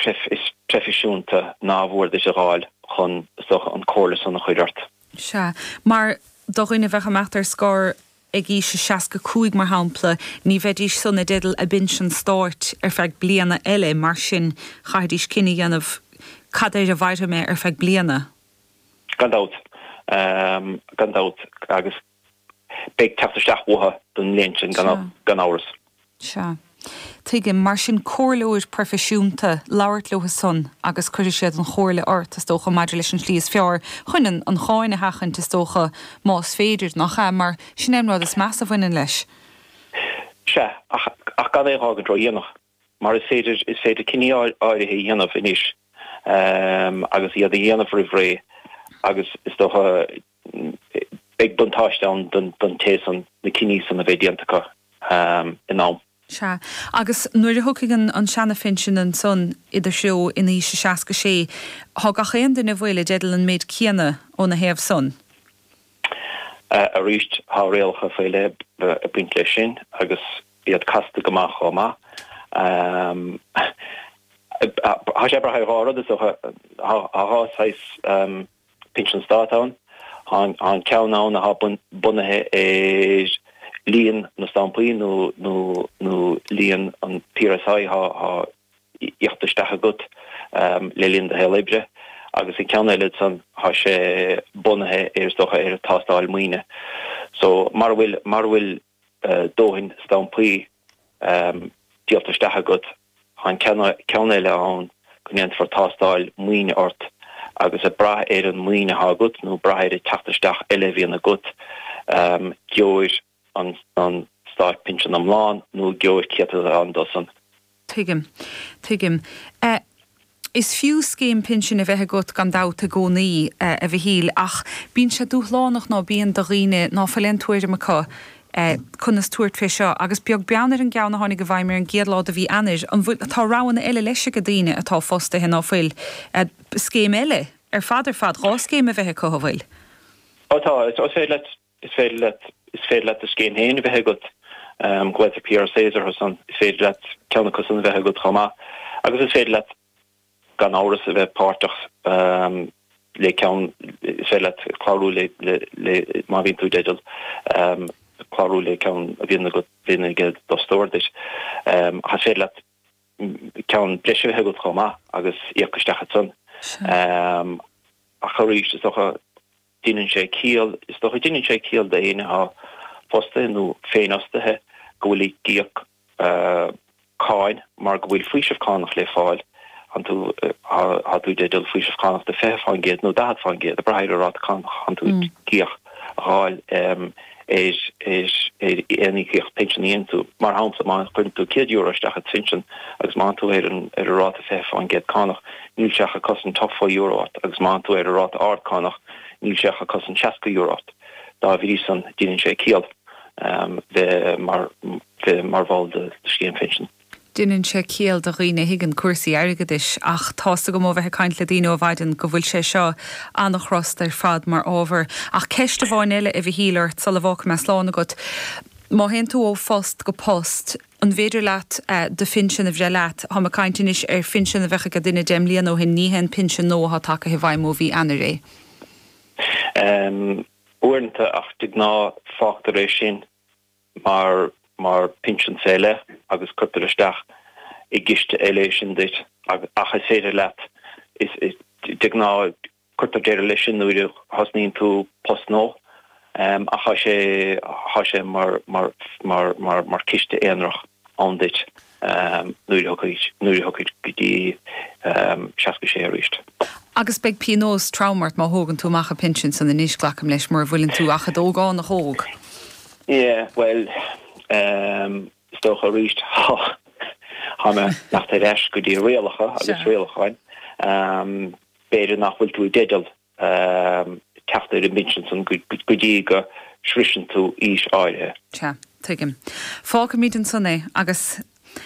proifisiúnta ná mhór duit a dh'fháil chun, is dócha, an comhairle san a chur ort. Sea. Mar do dhuine a bheadh ag imeacht ar scor ag aois a 65, mar shampla, ní bheidís san i dteideal a bpinsean stáit ar feadh bliana eile, mar sin chaithfidís cinneadh a dhéanamh cad air a mhairfidh mé ar feadh bliana. Gan dabht. Gan dabht. Agus beidh teacht isteach uathu don mbliain sin gan amhras. Sea. Tuigim. Mar sin, comhairleoir proifisiúnta, labhairt leo san agus cuirfidh siad an chomhairle ort, is dócha, maidir leis an slí is fearr chun an cháin a sheachaint, is dócha, más féidir, nach ea? Mar sin é an rud is measa a bhaineann leis. Sea, ach gan é a dh'fhágaint ródhéanach. Mar is féidir, is féidir cinní áirithe a dhéanamh anois agus iad a dhéanamh roimh ré agus is dócha beidh buntáiste ann don té san, na cinní san a bheith déanta acu in am. Sea. Agus nuair a thiocfaidh an seana-phinsean ansan i do threo in aois a 66, thá gach aon duine a bhfuil i dteideal an méid céanna óna thaobh san? Arís, thá rialacha faoi leith ag baint leis sin agus iad casta go maith chomh maith. Thá sé ag brath ar dhá rud is dócha. Thá dhá saghas pinsean stáit ann. Thá an ceann ann athá bunaithe ar líon na stampaí nó líon an PRSI athá íoctha isteach agat le linn do shaol oibre agus an ceann eile ansan thá sé bunaithe ar is dócha ar tástáil maoine. So mara bhfuil mara bhfuil dóthain stampaí díolta isteach agat thá an ceann eile ann go ndéanfar tástáil maoine ort agus ag brath ar an maoin athá agat nó brath ar an teacht isteach eile a bhíonn agat gheobhair an stát pinsean iomlán nó gheobhair céatadán dó san. Tuigim. Tuigim. Is fiú scéim pinsin a bheith agat gan dabht i gcónaí, a Mhichíl, ach bíonn sé dúshlánach ná bíonn do dhaoine ná fuil aon tuairim acu conas tabhairt fé seo. Agus beag beann ar an gceann a tháinig i bhfeidhm ar an gcéad lá de mhí Eanáir, an bhfuil, tá roghanna eile leis ag daoine atá fostaithe ná fuil, scéim eile ar fad ar fad, dhá scéim a bheith acu, an bhfuil? Ó tá, is féidir leat Is féidir leat, is féidir leat do scéim féin a bheith agat, glaotar PRSAs orthu san, is féidir leat ceann acu san a bheith agat chomh maith agus is féidir leat gan amhras a bheith páirteach le ceann, is féidir leat clárú le, le, le, má bhíonn tú i dteideal, clárú le ceann a bhíonn agat, bhíonn ag d'fhostóir duit. Ach is féidir leat ceann breise a bheith agat chomh maith agus íoc isteach ansan. Ach arís, is dócha, Deineann sé ciall, is dócha, deineann sé ciall d'éinne atá fostaithe nó féinfhostaithe go bhfuil ag íoc cáin mar go bhfuil faoiseamh cánach le fáil, thánn tú, thá tú i dteideal faoiseamh cánach de 20% nó 40%, ag brath ar an ráta cánach thánn tú ag íoc, a dh'fháil ar ar aon íocaíocht pinsin a dhéanann tú. Mar shampla, má chuireann tú €100 isteach i do phinsean agus má thánn tú ar an ar an ráta 20% cánach, níl sé ach ag cosaint €80 ort agus má thánn tú ar an ráta ard cánach, níl sé ach ag cosaint €60 ort. Dá bhrí san, deineann sé ciall bheith mar bheith mar bhall de scéim phinsin. Deineann sé ciall do dhaoine a thuigeann cúrsaí airgeadais ach tá's agam ó bheith ag caint le daoine ó mhaidin go bhfuil sé seo an-chrosta ar fad mar ábhar. Ach ceist amháin eile, a Mhichíl, ort sula bhfágfaidh mé slán agat. Má théann tú ó phost go post, an bhféidir leat do phinsean a bhreith leat? Táim ag caint anois ar phinsean a bheadh ag duine 10 mbliana ó shin, ní hé an pinsean nua atá tagaithe i bhfeidhm ó mhí Eanáir é. Uaireanta, ach de ghnáth fágtar é sin mar mar pinsean fé leith agus cuirtear isteach i gciste eile é sin duit ach is féidir leat is de ghnáth cuirtear deireadh leis sin nuair a thosnaíonn tú post nua ach thá sé thá sé mar mar mar mar mar ciste aonarach ann duit nuair a thiocfaidh nuair a thiocfaidh go dtí 66 arís. Agus beidh pionós trom ort má thógann tú amach an pinsean san anois, glacaim leis, mura bhfuileann tú ach i d'ógánach óg. Yeah, bhuel, is dócha arís, thá mé ag teacht ar ais go dtí rialacha agus rialacháin. B'fhéidir nach bhfuil tú i dteideal teacht ar an bpinsean san go dtí go sroiseann tú aois áirithe. Sea, tuigim. Fágfaimid ansan é agus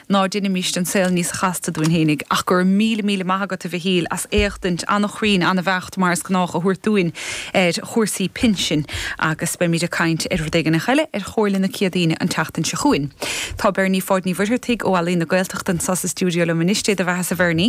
ná deinimíst an saol níos chasta dúinn fhéinig. Ach go raibh míle, míle maith agat, a Mhichíl, as éachtaint an-chruinn, an-bheacht, mar is gnách, a thabhairt dúinn ar chúrsaí pinsin agus beimid ag caint ar rud éigin eile ar Chomhairle na Céadaoine an tseachtain seo chugainn. Tá Bernie Pháid Ní Mhuircheartaigh ó Ealaín na Gaeltachta anseo sa stiúideo liom anois. Dé do bheatha-sa, Bhernie.